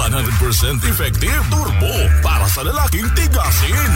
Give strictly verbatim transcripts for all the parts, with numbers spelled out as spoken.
One hundred percent effective turbo para sa lalaking tigasin.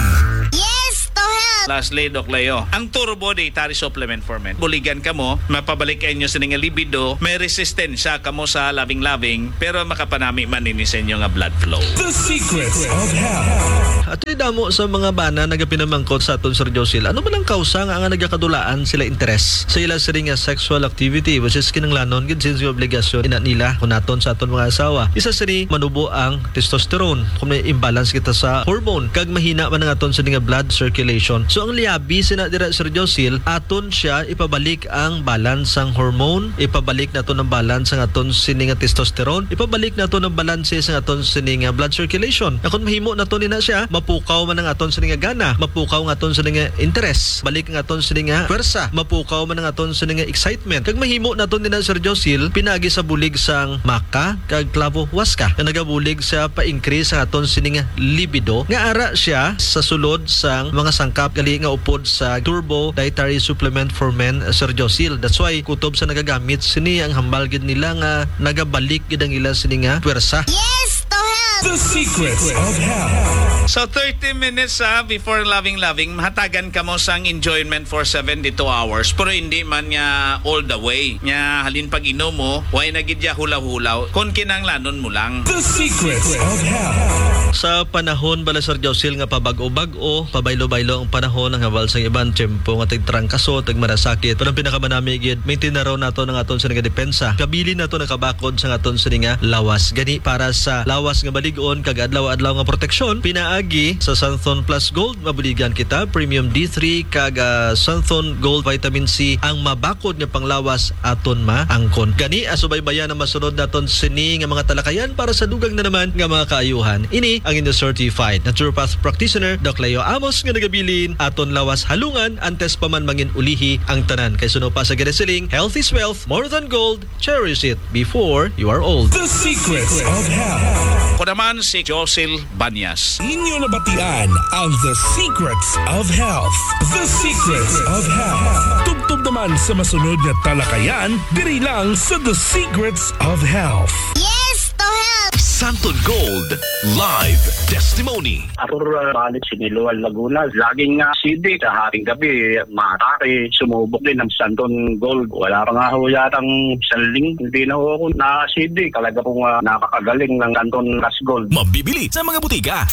Yes to health! Lastly, Doc Leo, ang Turbo Dietary Supplement for Men. Buligan ka mo, mapabalik inyo sa nga libido, may resistensya ka mo sa loving-loving, pero makapanami man ini sa inyo nga blood flow. The Secrets of Health. Ato'y damo sa mga bana nagapinamangkot sa aton, Sir Josil. Ano man ang kausa nga, nga nagakadulaan sila interes sa ila sini nga sexual activity, which is kinahanglanon gid since nga obligasyon ina nila kung naton sa aton mga asawa? Isa sini manubo ang testosterone kung may imbalance kita sa hormone, kag mahina man ang aton sini nga blood circulation. So, ang liabi sina dira, Sir Josil, aton siya ipabalik ang balance sang hormone, ipabalik naton ang balance sang aton sini nga testosterone, ipabalik naton ang balanse sang aton sini nga blood circulation. Na kung mahimo naton ina siya, mapukaw man ang aton sini nga gana, mapukaw ang aton sini nga interes, balik ang aton sini nga pwersa, mapukaw man ang aton sini nga excitement. Kag mahimo naton ina, Sir Josil, pinaagi sa bulig sang maca kag clavo huasca, nga nagabulig sa pa-increase sa aton sini nga libido, nga ara siya sa sulod sang mga sangkap gali nga upod sa Turbo Dietary Supplement for Men, Sir Josil. That's why kutob sa nagagamit sini, ang hambal gid nila nga nagabalik gid ang ila sini nga pwersa. Yes to health! The Secrets of Health. So, thirty minutes, ah, before loving-loving, mahatagan ka mo sang enjoyment for seventy-two hours, pero hindi man nga all the way. Nya, halin pag inom mo, way na gid ya hulaw-hulaw. Kung kinahanglanon mo lang. The Secrets of Health. Sa panahon bala, Sir Josil, nga pabag-o-bag-o, pabaylo-baylo ang panahon, ang hambal sang iban, tiyempo nga tigtrangkaso, tigmarasakit. Pero ang pinakamanami gid, maintain na raw nato ang aton sini nga depensa. Kabilin nato nakabakod sa aton sini nga lawas. Gani, para sa lawas nga balig-on kag adlaw-adlaw nga proteksyon, pinaagi sa Santhon Plus Gold, mabuligan kita, Premium D three kag, ah, Santhon Gold Vitamin C ang mabakod nga panglawas aton maangkon. Gani, ah, subaybayan ang masunod naton sini nga mga talakayan para sa dugang na naman nga mga kaayuhan. Ini ang inyo certified naturopath practitioner, Doc Leo Amos, nga nagabilin, aton lawas halungan antes pa man mangin ulihi ang tanan. Kay suno pa sa ginasiling, health is wealth, more than gold, cherish it before you are old. The Secrets of Health. Ako naman si Josil Banyas. Inyo nabatian ang The Secrets of Health. The Secrets of Health. Tubtob naman sa masunod nga talakayan, diri lang sa The Secrets of Health. Yes to health! Santon Gold Live Testimony. Ako, uh, balik Siniloan, Laguna. Laging, uh, C D sa haring gabi, matake, sumubok din ang Santon Gold. Wala pa nga ho yatang isang linggo, hindi na ho ako na-C D. Talaga pong, ah, nakakagaling ng Santon Plus Gold. Mabibili sa mga butika.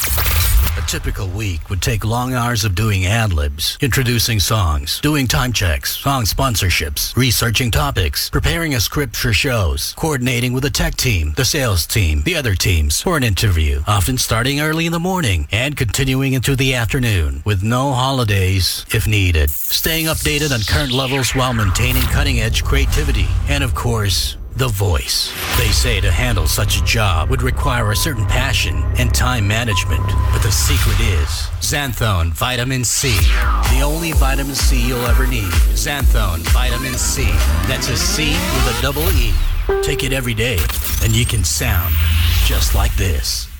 A typical week would take long hours of doing ad-libs, introducing songs, doing time checks, song sponsorships, researching topics, preparing a script for shows, coordinating with the tech team, the sales team, the other teams, for an interview, often starting early in the morning and continuing into the afternoon, with no holidays if needed. Staying updated on current levels while maintaining cutting-edge creativity. And of course, the voice. They say to handle such a job would require a certain passion and time management. But the secret is Xanthone Vitamin C. The only vitamin C you'll ever need. Xanthone Vitamin C. That's a C with a double E. Take it every day, and you can sound just like this.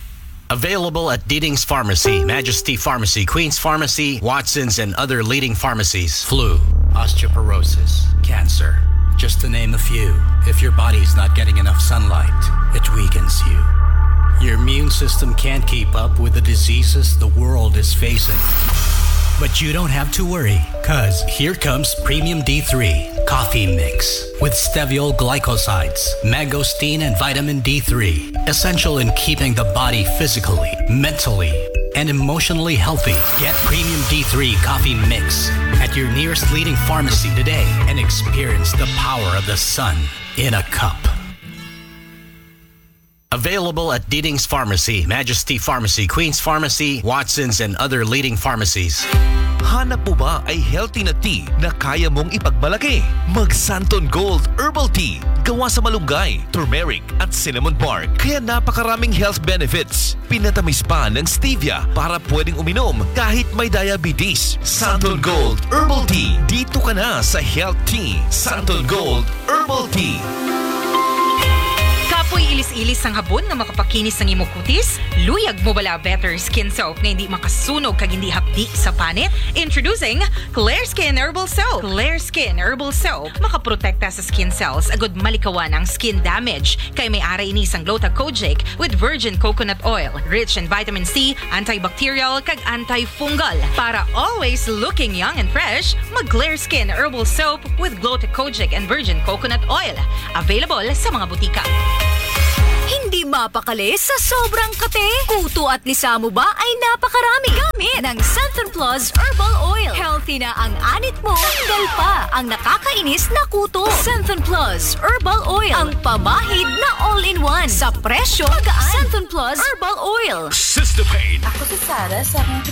Available at Diding's Pharmacy, Majesty Pharmacy, Queen's Pharmacy, Watson's, and other leading pharmacies. Flu, osteoporosis, cancer, just to name a few. If your body's not getting enough sunlight, it weakens you. Your immune system can't keep up with the diseases the world is facing. But you don't have to worry, 'cause here comes Premium D three Coffee Mix with steviol glycosides, mangosteen, and vitamin D three, essential in keeping the body physically, mentally, and emotionally healthy. Get Premium D three Coffee Mix at your nearest leading pharmacy today and experience the power of the sun in a cup. Available at Diding's Pharmacy, Majesty Pharmacy, Queen's Pharmacy, Watson's, and other leading pharmacies. Hanap mo ba ay healthy na tea na kaya mong ipagmalaki? Mag Santon Gold Herbal Tea. Gawa sa malunggay, turmeric, at cinnamon bark. Kaya napakaraming health benefits. Pinatamis pa ng stevia para pwedeng uminom kahit may diabetes. Santon Gold Herbal Tea. Dito ka na sa Health Tea. Santon Gold Herbal Tea. Kapo May ilis-ilis sang habon nga makapakinis sang imo kutis? Luyag mo bala better skin soap nga hindi makasunog kag hindi hapdi sa panit? Introducing Clear Skin Herbal Soap. Clear Skin Herbal Soap makaprotekta sa skin cells agud malikawan ang skin damage kay may ara ini sang Gluta Kojic with virgin coconut oil, rich in vitamin C, antibacterial kag antifungal. Para always looking young and fresh, mag Clear Skin Herbal Soap with Gluta Kojic and virgin coconut oil. Available sa mga butika. Hindi mapakali sa sobrang kape. Kuto at lisa mo ba ay napakarami? Gamit ng Santon Plus Herbal Oil. Healthy na ang anit mo, tanggal pa ang nakakainis na kuto. Santon Plus Herbal Oil. Ang pamahid na all-in-one sa presyo magaan. Santon Plus Herbal Oil. Sister Pain. Ako si Sarah sa akong